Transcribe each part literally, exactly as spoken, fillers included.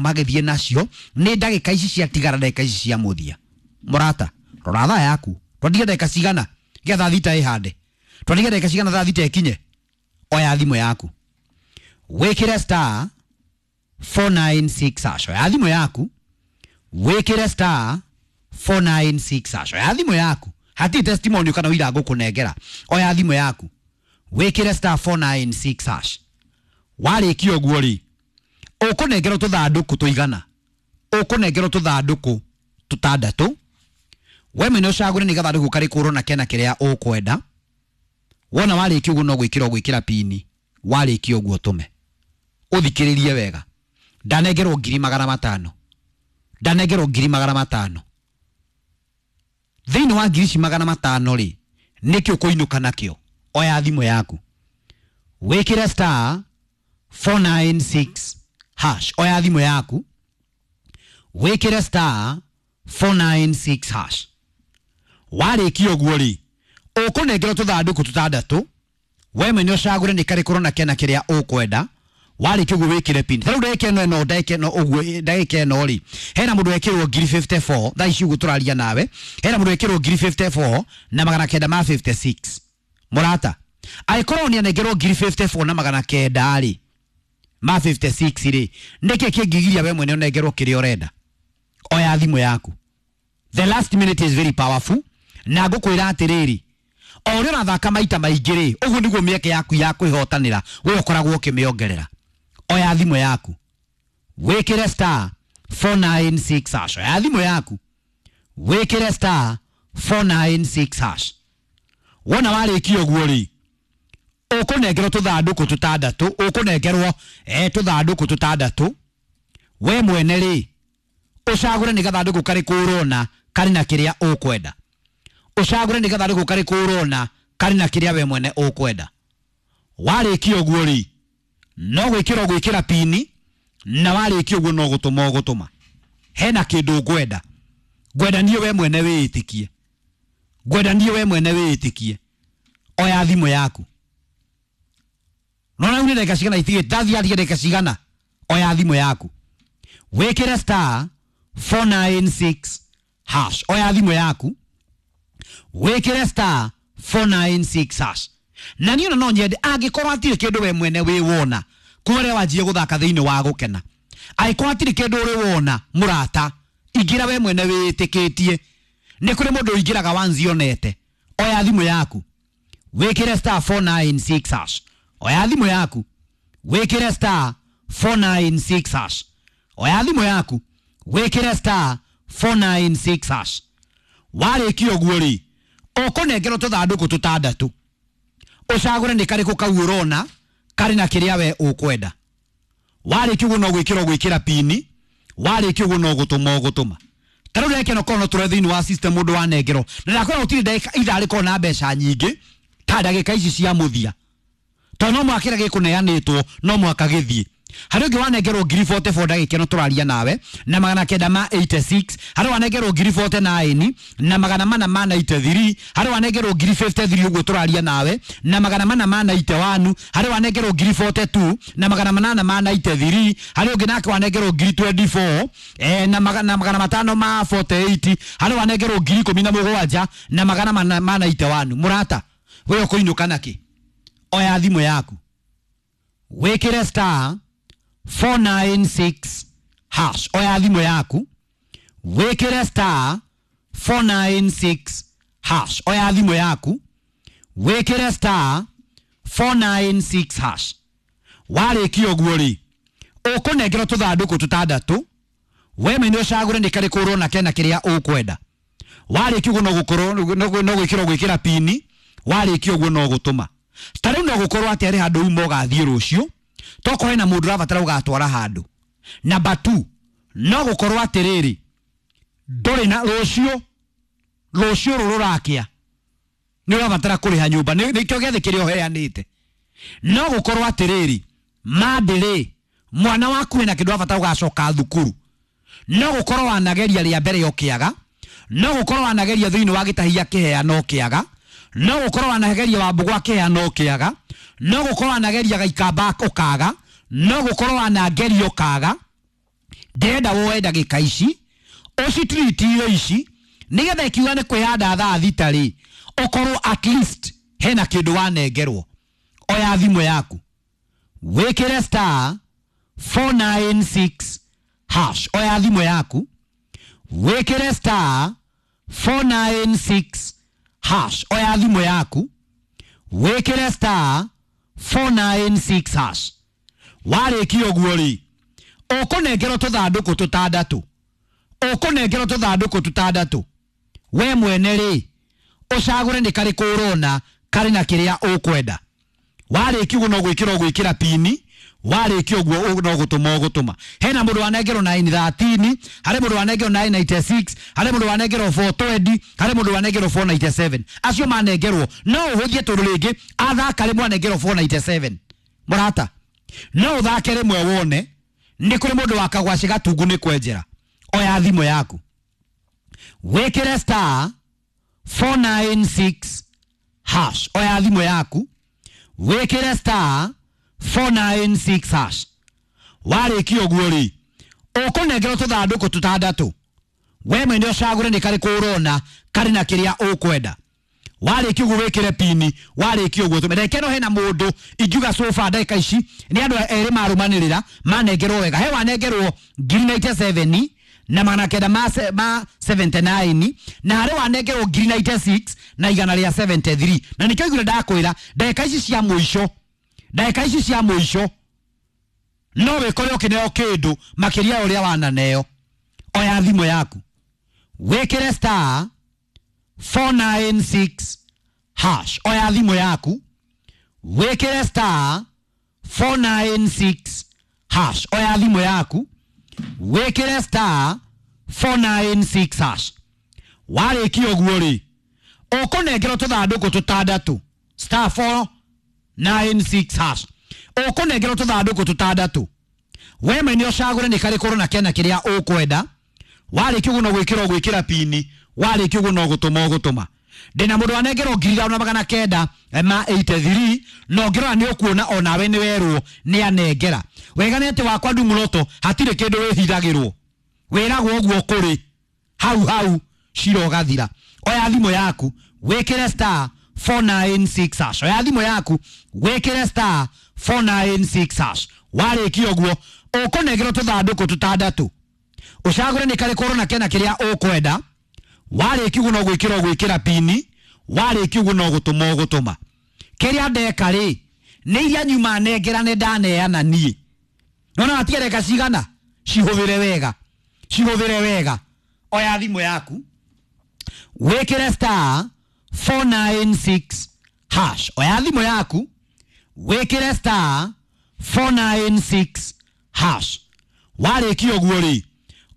Magĩthiĩ nacio nĩ ndagĩka ici ciatigara, ndagĩka ici cia mũthia. Mũrata, rora thaa yaku. Twatiga ndagĩka cigana gĩa thaa thita ĩhande? Twatiga ndagĩka cigana thaa thita ĩkinye? Oya thimũ yaku, wĩkĩre star four nine six hash. Oya thimũ yaku, wĩkĩre star four nine six hash. Oya thimũ yaku, hatirĩ testimony kana ũira ngũkũnengera. Oya thimũ yaku, wĩkĩre star four nine six hash. Warĩkia ũguo rĩ, ũkũnengerwo tũthandũkũ tũigana? Ũkũnengerwo tũthandũkũ tũtandatũ. We mwene ũcagũre nĩ gathandũkũ karĩkũ ũrona kena kĩrĩa ũkwenda. Wona warĩkia ũguo, no gwĩkĩra ũgwĩkĩra pini. Warĩkia ũguo, tũme. Ũthikĩrĩrie wega. Ndanengerwo ngiri magana matano, ndanengerwo ngiri magana matano. Thĩinĩ wa ngiri ici magana matano rĩ, nĩkĩ ũkũinũka nakĩo? Oya thimũ yaku, wĩkĩre star four nine six hash. Oya thimũ yaku, wĩkĩre star four nine six hash. Warĩkia ũguo rĩ, ũkũnengerwo tũthandũkũ tũtandatũ. We mwene ũcagũre nĩ karĩkũ ũrona kena kĩrĩa ũkwenda. Warĩkia ũguo, wĩkĩre pin. Ta rĩu ndagĩka ĩno ĩno ndagĩka ĩno ũguo, ndagĩka ĩno rĩ, hena mũndũ wekĩrwo ngiri mĩrongo ĩna na inya thaa ici ũguo tũraria nawe. Hena mũndũ wekĩrwo ngiri mĩrongo ĩna na inya na magana kenda ma mĩrongo ĩna na ithathatũ. Mũrata, angĩkorwo nĩ anengerwo ngiri mĩrongo ĩna na inya na magana kenda rĩ ma mĩrongo ĩna na ithathatũ rĩ, nĩkĩ kĩngĩgiria we mwene ũnengerwo kĩrĩa ũrenda? Oya thimũ yaku. The last minute is very powerful. Na ngũkwĩra atĩrĩrĩ, o ũrĩa ũrathaka maita maingĩ rĩ, ũguo nĩguo mĩeke yaku ya kwĩhotanĩra we ũkoragwo ũkĩmĩongerera. Oya thimũ yaku, wĩkĩre star four nine six hash. Oya thimũ yaku, wĩkĩre star four nine six hash. Wona warĩkia ũguo rĩ, ũkũnengerwo tũthandũkũ tũtandatũ. Ũkũnengerwo eh, tũthandũkũ tũtandatũ. We mwene rĩ, ũcagũre nĩ gathandũkũ karĩkũ ũrona karĩ na kĩrĩa ũkwenda. Ũcagũre nĩ gathandũkũ karĩkũ ũrona karĩ na kĩrĩa we mwene ũkwenda. Warĩkia ũguo rĩ, no gwĩkĩra ũgwĩkĩra pini, na warĩkia ũguo, no gũtũma ũgũtũma. Hena kĩndũ ngwenda ngwenda niĩ we mwene wĩĩtĩkie, ngwenda niĩ we mwene wĩĩtĩkie. Oya thimũ yaku. Nona rĩu nĩ ndagĩka cigana itigĩte? Ndathiĩ atige ndagĩka cigana? Oya thimũ yaku, wĩkĩre star four nine six hash. Oya thimũ yaku, wĩkĩre star four nine six hash. Na niĩ ona no nyende, angĩkorwo hatirĩ kĩndũ we mwene wĩ wona kuma rĩrĩa wanjie gũthaka thĩinĩ wa gũkena, angĩkorwo hatirĩ kĩndũ ũrĩ wona, mũrata, ingĩra we mwene wĩĩtĩkĩtie. Nĩ kũrĩ mũndũ ũingĩraga wanzionete. Oya thimũ yaku, wĩkĩre star four nine six hash. Oya thimũ yaku, wĩkĩre star four nine six hash. Oya thimũ yaku, wĩkĩre star four nine six hash. Warĩkia ũguo rĩ, ũkũnengerwo tũthandũkũ tũtandatũ. Ũcagũre nĩ karĩkũ kau ũrona karĩ na kĩrĩa we ũkwenda. Warĩkia ũguo, no gwĩkĩra ũgwĩkĩra pini. Warĩkia ũguo, no gũtũma ũgũtũma. Ta rĩu ndagĩka ĩno korwo no tũrore thĩinĩ wa system mũndũ wanengerwo, na ndakwĩra gũtirĩ ndagĩka ithaa rĩkorwo na mbeca nyingĩ ta ndagĩka ici cia mũthia, tondũ no mũhaka kĩrĩa gĩkũneanĩtwo no mũhaka gĩthiĩ. Harĩ ũngĩ wanengerwo ngiri mĩrongo ĩna na inya ndagĩka ĩno tũraria nawe na magana kenda ma mĩrongo ĩnane na ithathatũ. Harĩ wanengerwo ngiri mĩrongo ĩna na kenda na magana mana ma mĩrongo ĩtandatũ na ithatũ. Harĩ wanengerwo ngiri mĩrongo ĩna na ithatũ ũguo tũraria nawe na magana mana ma mĩrongo ĩnane na ĩmwe. Harĩ wanengerwo ngiri mĩrongo ĩna na igĩrĩ na magana manana ma mĩrongo ĩnane na ithatũ. Harĩ ũngĩ nake wanengerwo ngiri mĩrongo ĩĩrĩ na inya eh, na magana, magana matano ma mĩrongo ĩna na nyanya. Harĩ wanengerwo ngiri ikũmi na mũgwanja na magana mana ma mĩrongo ĩnane na ĩmwe. Mũrata, we ũkũinũka nakĩ? Oya thimũ yaku, wĩkĩre star four nine six hash. Oya thimũ yaku, wĩkĩre star four nine six hash. Oya thimũ yaku, wĩkĩre star four nine six hash. Warĩkia ũguo rĩ, ũkũnengerwo tũthandũkũ tũtandatũ. We mwene ũcagũre nĩ karĩkũ ũrona kena kĩrĩa ũkwenda. Warĩkia ũguo, no gũkorwo no no gwĩkĩra ũgwĩkĩra pini. Warĩkia ũguo, no gũtũma. Ta rĩu no gũkorwo atĩ harĩ handũ uma ũgathiĩ rũciũ, tokorwo hena mũndũ ũrabatara ũgatwara handũ. Number two, no gũkorwo atĩrĩrĩ, ndũrĩ na rũciũ, rũciũ rũrũ rũrakĩa nĩ ũrabatara kũrĩha nyũmba. Nĩ- nĩkĩo gĩathĩ kĩrĩa ũheanĩte. No gũkorwo atĩrĩrĩ, mandĩrĩ mwana waku ena kĩndũ ũrabatara ũgacoka thukuru. No gũkorwo wanageria rĩa mbere ũkĩaga. No gũkorwo wanageria thĩinĩ wa gĩtahia kĩheana ũkĩaga. No gũkorwo wanageria wambũgũ akĩheana ũkĩaga. No gũkorwo wanageria gaikamba ũkaga. No gũkorwo wanageria ũkaga. Ndĩrenda woe ndagĩka ici ũcitreat irio ici nĩgetha ikiuga nĩ kwĩhanda thaa thita rĩ, ũkorwo at least hena kĩndũ wanengerwo. Oya thimũ yaku wĩkĩre star four nine six hash. Oya thimũ yaku wĩkĩre star four nine six hash. Oya thimũ yaku wĩkĩre star four nine six hash. Warĩkia ũguo rĩ, ũkũnengerwo tũthandũkũ tũtandatũ, ũkũnengerwo tũthandũkũ tũtandatũ. We mwene rĩ, ũcagũre nĩ karĩkũ ũrona karĩ na kĩrĩa ũkwenda. Warĩkia ũguo no gwĩkĩra ũgwĩkĩra pini, warĩkia ũguo no gũtũma ũgũtũma. Hena mũndũ wanengerwo nine thirteen, harĩ mũndũ wanengerwo nine ninety six, harĩ mũndũ wanengerwo four twenty, harĩ mũndũ wanengerwo four ninety seven. Acio manengerwo no ũhũthie tondũ rĩngĩ athaka rĩmwe anengerwo four ninety seven. Mũrata, no ũthake rĩmwe wone nĩ kũrĩ mũndũ wa kagwacĩ gatungu nĩ kwenjera. Oya thimũ yaku wĩkĩre star four nine six hash. Oya thimũ yaku wĩkĩre star four nine six hash. Warĩkia ũguo rĩ, ũkũnengerwo tũthandũkũ tũtandatũ. We mwene ũcagũre nĩ karĩkũ ũrona karĩ na kĩrĩa ũkwenda. Warĩkia ũguo wĩkĩre pini, warĩkia ũguo tũme. Reke no hena mũndũ ingiuga so far ndagĩka ici nĩ andũ erĩ marũmanĩrĩra manengerwo wega. He wanengerwo ngiri ninety seven na magana kenda ma se-, ma seventy nine, na harĩ wanengerwo ngiri ninety six na igana rĩa seventy three. Na nĩkĩo igũrũ ndakwĩra ndagĩka ici cia mũico, ndagĩka ici cia mũico no wĩkore ũkĩneo kĩndũ makĩria ya ũrĩa wananeo. Oya thimũ yaku wĩkĩre star four nine six hash. Oya thimũ yaku wĩkĩre star four nine six hash. Oya thimũ yaku wĩkĩre star four nine six hash. Warĩkia ũguo rĩ, ũkũnengerwo tũthandũkũ tũtandatũ, star four nine six hash. Ũkũnengerwo tũthandũkũ tũtandatũ. We mwene ũcagũre nĩ karĩkũ ũrona kena kĩrĩa ũkwenda. Warĩkia ũguo no gwĩkĩra ũgwĩkĩra pini, warĩkia ũguo no gũtũma ũgũtũma. Ndĩna mũndũ wanengerwo ngiri ithano na magana kenda ma eighty three, na ũngĩrora nĩ ũkuona onawe nĩ werwo nĩ anengera. Wega nĩ atĩ wakwa Ndung'uroto hatirĩ kĩndũ wĩhithagĩrwo, wĩragwo ũguo kũrĩ hau hau cira ũgathira. Oya thimũ yaku wĩkĩre star four nine six hash. Oya thimũ yaku wĩkĩre star four nine six hash. Warĩkia ũguo ũkũnengerwo tũthandũkũ tũtandatũ, ũcagũre nĩ karĩkũ ũrona kena kĩrĩa ũkwenda. Warĩkia ũguo no gwĩkĩra ũgwĩkĩra pini, warĩkia ũguo no gũtũma ũgũtũma. Kĩrĩa ndeka rĩ, nĩ iria nyuma nengera nĩ ndaneana niĩ. Nona watigara cigana, cihũthĩre wega, cihũthĩre wega. Oya thimũ yaku wĩkĩre star four nine six hash. Oya thimũ yaku wĩkĩre star four nine six hash. Warĩkia ũguo rĩ,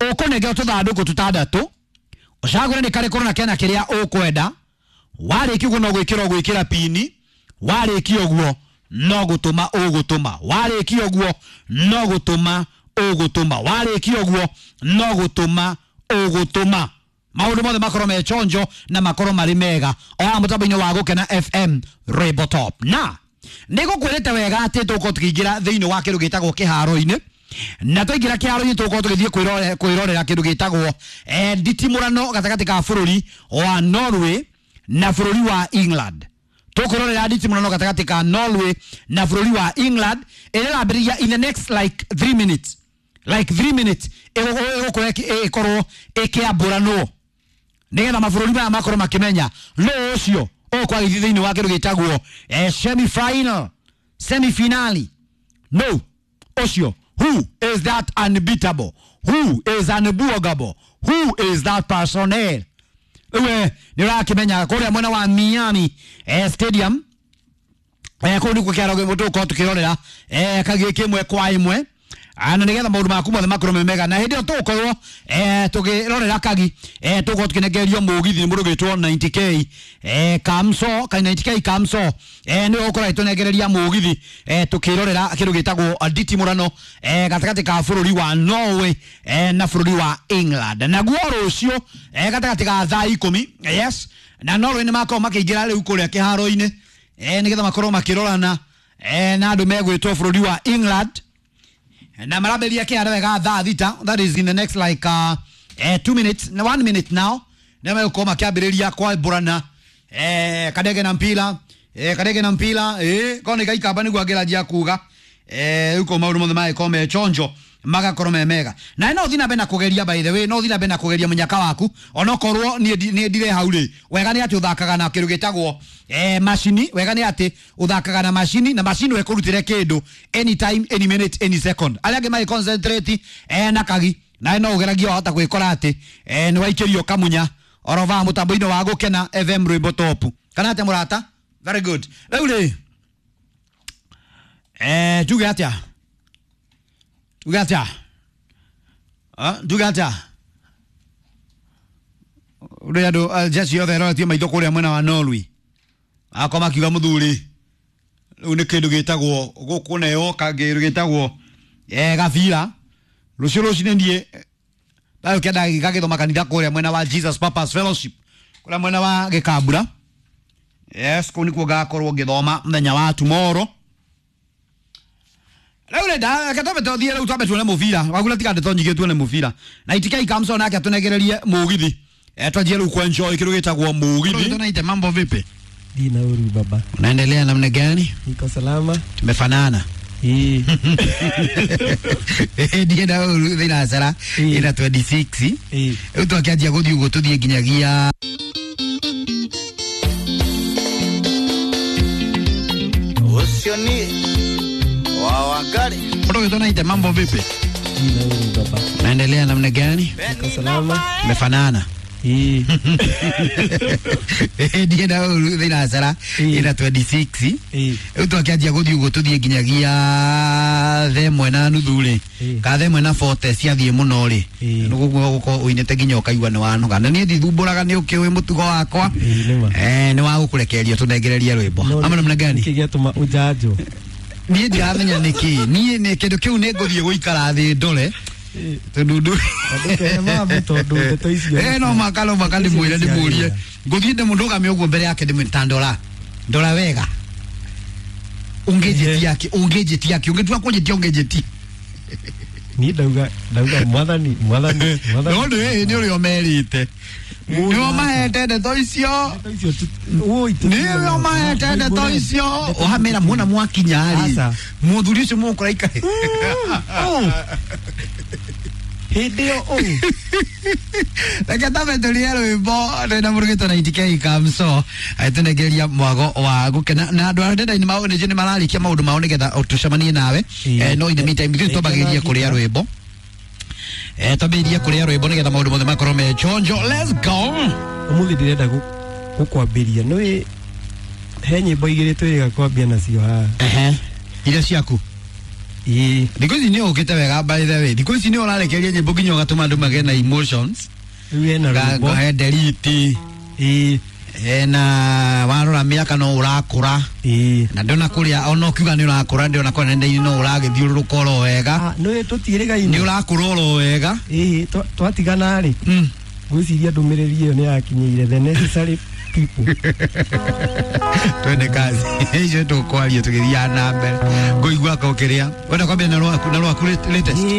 ũkũnengerwo tũthandũkũ tũtandatũ, ũcagũre nĩ karĩkũ ũrona kena kĩrĩa ũkwenda. Warĩkia ũguo no gwĩkĩra ũgwĩkĩra pini, warĩkia ũguo no gũtũma ũgũtũma. Warĩkia ũguo no gũtũma ũgũtũma. Warĩkia ũguo no gũtũma ũgũtũma. Maũndũ mothe makorwo me chonjo na makorwo marĩ mega. Oya mũtambo-inĩ wa Gũkena F M Rainbow Top. Na nĩngũkwĩrĩte wega atĩ tũgũkorwo tũkĩingĩra thĩinĩ wa kĩndũ gĩtagwo kĩharo-inĩ. Na twaingĩra kĩharo-inĩ tũgũkorwo tũgĩthiĩ kwĩrore-, kwĩrorera kĩndũ gĩtagwo, eh, nditimũrano gatagatĩ ka bũrũri wa Norway na bũrũri wa England. Tũkũrorera nditimũrano gatagatĩ ka Norway na bũrũri wa England ĩrĩa ĩrambĩrĩria in the next like three minutes. Like three minutes ĩgũkorwo ĩkorwo ĩkĩambũranwo nĩgetha mabũrũri maya makorwo makĩmenya nũ ũcio ũkwagithia thĩinĩ wa kĩndũ gĩtagwo, eh, semi final, semi finale. No ũcio, who is that unbeatable, who is unbuggable, who is that personnel? Rĩu nĩ ũrakĩmenya kũrĩa mwena wa Miami, eh, Stadium, eh, kũu nĩkuo kĩharo tũgũkorwo tũkĩrorera, eh, kagĩ kĩmwe kwa ĩmwe. Ah, na nĩgetha maũndũ maku mothe makorwo me mega. Na hĩndĩ ĩyo tũgũkorwo, eh, tũkĩrorera kagi, eh, tũgũkorwo tũkĩnengererio mũgithi nĩ mũndũ ũgwĩtwo ninety K, eh, Kamso, ka ninety K Kamso, eh, nĩwe ũgũkorwo agĩtũnengereria mũgithi, eh, tũkĩrorera kĩndũ gĩtagwo nditimũrano, eh, gatagatĩ ka bũrũri wa Norway, eh, na bũrũri wa England. Naguo rũciũ, eh, gatagatĩ ka thaa ikũmi, yes, na Norway nĩ makorwo makĩingĩra rĩu kũrĩa kĩharo-inĩ, eh, nĩgetha makorwo makĩrorana, eh, na andũ megwĩtwo bũrũri wa England. Na marambĩrĩria kĩharo wega thaa thita, that is in the next like uh, eh, two minutes, one minute now. Nĩ megũkorwo makĩambĩrĩria kwambũrana eh, kadege na mpira eh, kadege na mpira eh, korwo nĩ gaikamba nĩguo angĩranjia kuga eh, rĩu korwo maũndũ mothe magĩkorwo me chonjo magakorwo me mega. Na no ũthiĩ na mbere na kũgeria, by the way, no ũthiĩ na mbere na kũgeria mũnyaka waku onokorwo niĩ niĩ ndirĩ hau rĩ. Wega nĩ atĩ ũthakaga na kĩndũ gĩtagwo eh, macini. Wega nĩ atĩ ũthakaga na macini, na macini ĩkũrutĩre kĩndũ anytime, any minute, any second. Arĩa angĩ magĩ concentrate eh, na kagi nawe no ũgeragie wahota gwĩkora atĩ eh, nĩ waikĩrio kamunya orova mũtambo-inĩ wa Gũkena F M rwĩmbo top kana atĩa mũrata. Very good. Rĩu rĩ eh, tuge atĩa tuge atĩa ah, tuge atĩa ũrĩa andũ jeshi yothe ĩroretie maitho kũrĩa mwena wa Norway akwa makiuga mũthuri rĩu nĩ kĩndũ gĩtagwo gũkũneo kĩndũ gĩtagwo eh, gabira rũciũ rũcinĩ niĩ thayũ kenda gagĩthoma kanitha kũrĩa mwena wa Jesus Purpose Fellowship kũrĩa mwena wa Gĩkambura. Yes, kũu nĩkuo ngakorwo ngĩthoma mũthenya wa tomorrow. Rĩu rĩ reke twambe tũthiĩ rĩu twambe tuone mũbira wagura tiga ndeto nyingĩ tuone mũbira na itikai Kamso nake atũnegererie mũgithi eh, twanjie rĩu kuenjoy kĩndũ gĩtagwo mũgithi. Tunaite mambo vipi? Dina uru baba. Unaendelea namna gani? Niko salama. Tumefanana. Eh. Dina uru thina sara ina twenty-six. Eh. Rĩu twakĩanjia gũthiĩ ũguo tũthiĩ nginyagia Ucio ni wa Wangari. Tunaite mambo vipi? Dina uru baba. Unaendelea namna gani? Niko salama. Tumefanana. Eh. Dina uru thina sara ina twenty-six. Eh. Rĩu twakĩanjia gũthiĩ ũguo tũthiĩ nginyagia thaa ĩmwe na nuthu rĩ ka thaa ĩmwe na forty ciathiĩ mũno rĩ nĩguo gũkorwo ũinĩte nginya ũkaigua nĩ wanoga. Na niĩ ndithumbũraga nĩ ũkĩũĩ mũtugo wakwa eh, nĩ wa gũkũrekereria tũnengererie rwĩmbo ama namna gani? Nĩkĩ gĩatũma ũnjanjwo? Niĩ ndiramenya nĩkĩ. Niĩ nĩ kĩndũ kĩu nĩ ngũthiĩ gũikara thĩ ndore tondũ ndũ eh no maka no maka ndĩmwĩre ndĩmũrie ngũthiĩ ndĩmũndũgamie ũguo mbere yake ndĩmwĩre ta ndora ndora wega ũngĩnjĩtia kĩ ũngĩnjĩtia kĩ ũngĩtua kũnjĩtia ũngĩnjĩtia Niĩ ndauga ndauga mwathani mwathani mwathani no nĩ nĩ ũrĩa ũmerĩte nĩ ũmahete ndeto icio nĩ ũrĩa ũmahete ndeto icio ũhamĩra muona mwakinya rĩ mũthuri ũcio mũkũra ikare hĩndĩ ĩyo ũũ reke tambe tũrie rwĩmbo rwĩna mũrugĩtwo na Itike Kamso tũnengereria mwago wa gũkena na andũ a nenda-inĩ mao nĩ mararĩkia maũndũ mao nĩgetha tũcemanie nawe no in the meantime ithuĩ twambagĩrĩrie kũrĩa rwĩmbo eh twambĩrĩrie kũrĩa rwĩmbo nĩgetha maũndũ mothe makorwo me chonjo. Let's go. Ũmũthĩ ndĩrenda gũkwambĩria nĩũĩ he nyĩmbo igĩrĩ twĩrĩga kwambia nacio haha. Ehe, iria ciaku. Ĩĩ thikũ ici nĩ ũkĩte wega by the way. Thikũ ici nĩ ũrarekereria nyĩmbo nginya ũgatũma andũ magĩe na emotions. Rĩu hena rwĩmbo he nderiti. Ĩĩ hena warora mĩaka no ũrakũra. Ĩĩ na ndona kũrĩa ona ũkiuga nĩ ũrakũra ndĩrona kũrĩa nenda-inĩ no ũragĩthiũrũrũka oro wega. Nĩũĩ tũtiĩrĩgaine nĩ ũrakũra oro wega. Ĩĩ twatigana rĩ ngwĩciria ndũmĩrĩri ĩyo nĩ yakinyĩire the necessary people. Twende kazi icio tũkwaria tũgĩthiaga na mbere ngũigua ka ũkĩrĩa wenda kwambia na rwaku na rwaku latest.